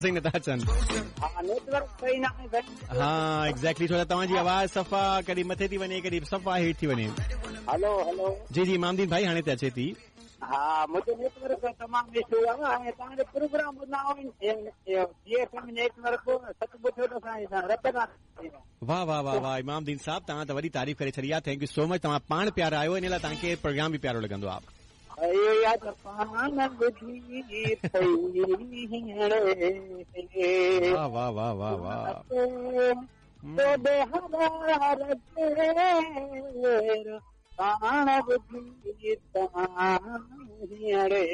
آواز ئي نٿا اچن. ها نيٽورڪ صحيح نه آهي سائين. ها ايگزيڪٽلي ڇو ته توهان جي آواز صفا ڪڏهن مٿي ٿي وڃي ڪڏهن صفا هيٺ ٿي وڃي. هلو هلو. جي جي امام دين ڀائي هاڻي ته اچي ٿي. ها منهنجو نيٽ ورڪ جو تمام اشو آهي ۽ توهان جو پروگرام ٻڌندا آهيون جي ايف ايم نيٽ ورڪ سچ پڇو ته اسان جي رت کان واه واه واه واه امام دين صاحب توهان ته وڏي تعريف ڪري ڇڏي آهي thank you سو مچ توهان پاڻ پيارا آهيو ان لاء توهان کي پروگرام به پيارو لڳندو آهي. اهو ئي آهي ته پاڻ ٻڌي اٿئي هينئڙي واه واه واه واه واه توڏي هزار پير پاڻ ٻڌي هينئڙي.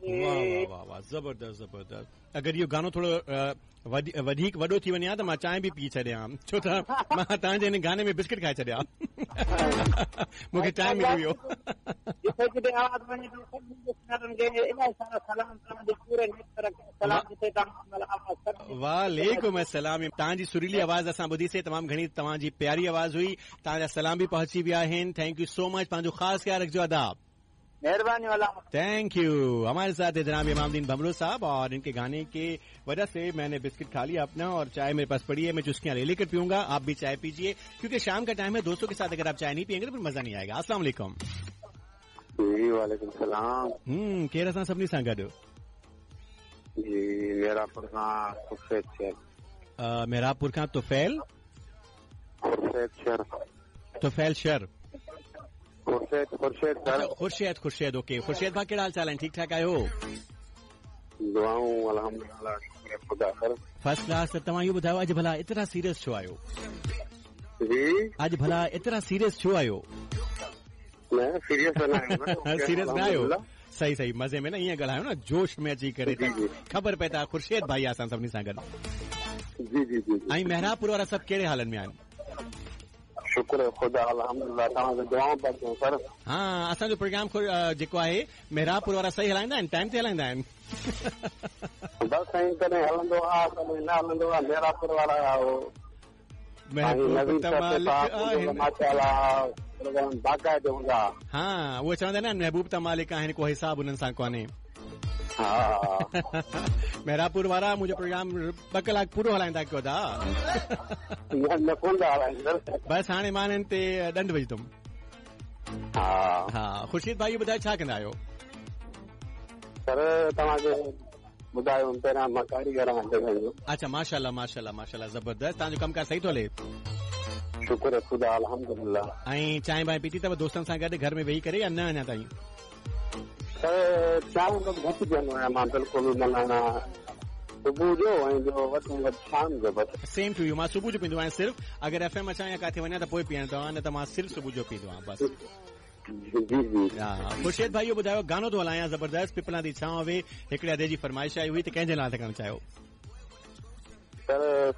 واه واه واه واه زبردست زبردست اگر اهو گانو ٿورو وڌيڪ وڏو ٿي وڃي ها ته مان چانهه به پي ڇڏيان ڇو ته مان توهان جي هن گاني ۾ بسڪٽ کائي ڇڏيا مون کي ٽائيم ملي ويو. جٿي جٿي آواز وڃي ٿو سڀني لسنرن کي الاهي سارا سلام توهان جي پوري نيٽ ورڪ کي سلام جٿي توهان مهل آواز سڀني وعليڪم السلام توهان جي سريلي آواز اسان ٻڌي سي تمام گهڻي توهان جي پياري آواز هئي توهان جا سلام به پهچي ويا آهن thank you سو مچ پنهنجو خاص خيال رکجو ادا. मेहरबानी वाला thank you हमारे साथ है जनाब इमामदीन भमरू साहब और इनके गाने के वजह से मैंने बिस्किट खा लिया अपना और चाय मेरे पास पड़ी है मैं चुस्कियां ले लेकर पीऊंगा आप भी चाय पीजिए क्योंकि शाम का टाइम है दोस्तों के साथ अगर आप चाय नहीं पियेंगे तो फिर मजा नहीं आएगा अस्सलाम वालेकुम जी वालेकुम सलाम केरु असां सभिनी सां गॾु जी मेहराबपुर खां तुफैल शहर मेहराबपुर खां तुफैल खुर्शेद शहर तुफैल शहर खुर्शेद खुर्शेद सर खुर्शेद खुर्शेद ओके खुर्शेद भाउ कहिड़ा हाल चाल आहिनि ठीक ठाक आहियो दुआऊं अल्हम्दुलिल्लाह शुक्र खुदा सर फर्स्ट क्लास त तव्हां इहो ॿुधायो अॼु भला एतिरा सीरियस छो आहियो जी अॼु भला एतिरा सीरियस छो आहियो न सीरियस न आहियो सीरियस न आहियो सही सही मज़े में न ईअं ॻाल्हायो न जोश में अची करे त ख़बर पए त खुर्शेद भाई आहे असां सभिनी सां गॾु जी जी जी ऐं मेहराबपुर वारा सभु कहिड़े हालनि में आहिनि शुक्र खुदा अल्हम्दुलिल्लाह तव्हांखे दुआऊं पिया कयूं सर हा असांजो प्रोग्राम जेको आहे मेहराबपुर वारा सही हलाईंदा आहिनि टाइम ते हलाईंदा आहिनि बसि साईं कॾहिं हलंदो आहे कॾहिं न हलंदो आहे मेहराबपुर वारा महबूब त मालिक आहिनि प्रोग्राम बाक़ाइदे हूंदा हा उहे चवंदा आहिनि न महबूब त मालिक आहिनि को हिसाब उन्हनि सां कोन्हे हा मेहराबपुर वारा मुंहिंजो प्रोग्राम ॿ कलाक पूरो हलाईंदा कयो था न कोन था हलाइनि सर बसि हाणे मां हिननि ते ॾंड विझंदुमि हा हा खुर्शीद भाई इहो ॿुधायो छा कंदा आहियो सर तव्हांखे ॿुधायो पहिरियां मां कारीगर आहियां जॻह जो अच्छा माशाल्लाह माशाल्लाह माशाल्लाह ज़बरदस्त तव्हांजो कमु कार सही थो हले शुक्र खुदा अल्हम्दुलिल्लाह ऐं चांहि बांहि पीती अथव दोस्तनि सां गॾु घर में वेही करे या न अञा ताईं सर चांहि त घटि पीअंदो आहियां मां बिल्कुलु माना सुबुह जो ऐं ॿियो वधि में वधि शाम जो बसि सेम टू you मां सुबुह जो पीअंदो आहियां सिर्फ़ अगरि एफ एम अचां या किथे वञा त पोइ पीअंदो आहियां न त मां सिर्फ़ सुबुह जो पीअंदो आहियां बसि जी जी हा खुर्शीद भाई इहो ॿुधायो गानो थो हलायां ज़बरदस्त पिपला दी छांव वे हिकिड़े अदे जी फरमाइश आई हुई त कंहिंजे नाले था करणु चाहियो सर